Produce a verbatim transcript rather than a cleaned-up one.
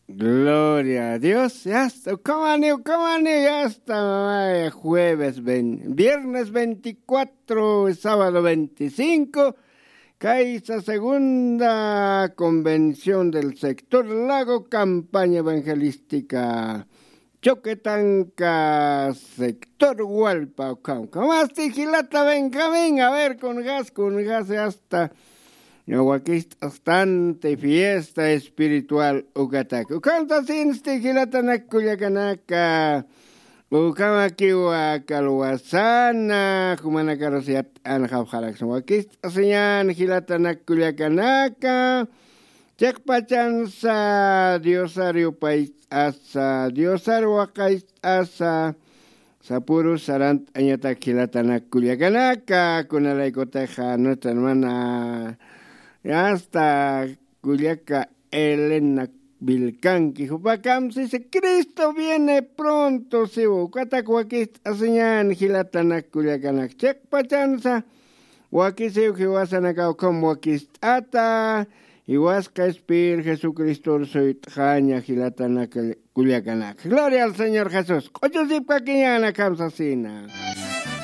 Gloria a Dios. Ya está, come on, come on, ya está, mamá. Jueves, ven- viernes veinticuatro, sábado veinticinco. Kaisa segunda convención del sector Lago, campaña evangelística Choquetanca, sector Hualpa, ukham. Kamasti jilata Benjamín, a ver, con gas, con gas, ya está. Wakist'astanti fiesta espiritual ukatak. Ukham sasinsti jilatanak kullakanaka. Ukhamakiwa kalwasana, jumanakarus yat'an jawjaraksna. Wakist'asiñan jilatanak kullakanaka. Chiqpachansa Diosar yupayt'asa, Diosar waqayt'asa, sapüru sarant'añatak jilatanak kullakanaka, kunalaykutixa nuestra hermana, hasta kullaka Elena Vilcanqui, jupakamsisa Cristo viene pronto, siwa, ukatak wakist'asiñan jilatanak kullakanak, chiqpachansa, wakisiw jiwasanakaw ukham wakist'ata, jiwasqa Espir Jesucristor suyt'xaña jilatanak kullakanaka. Gloria al Señor Jesús. Q'uchusipkakiñäna, ukham sasina.